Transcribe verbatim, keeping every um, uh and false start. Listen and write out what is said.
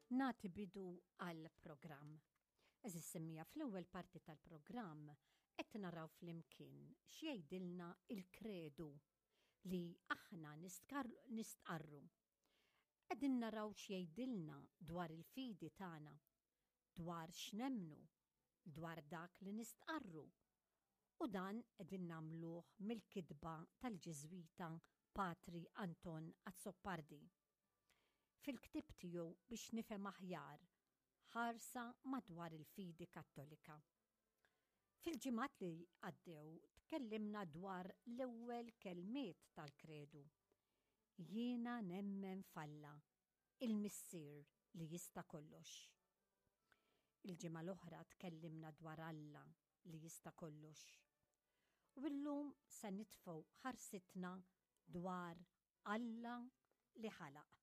Nagħti bidu għall-programm. Għeżież semmiegħa, fl-ewwel parti tal-programm qed naraw flimkien x'jgħidilna il-kredu li aħna nistqarru. Qegħdin naraw x'jgħidilna dwar il-fidi tagħna, dwar x'nemmnu, dwar dak li nistqarru. U dan qegħdin nagħmluh mill-kitba tal-Ġiżwita Patri Anton Azzopardi fil-ktieb tiegħu "Biex nifhem aħjar: ħarsa madwar il-fidi Kattolika". Fil-ġimgħat li għaddew tkellimna dwar l-ewwel kelmiet tal-kredu. "Jiena nemmen f'Alla, il-Missier li jista' kollox." Il-ġimgħa l-oħra tkellimna dwar Alla li jista' kollox. U llum se nitfgħu ħarsitna dwar Alla li ħalaq.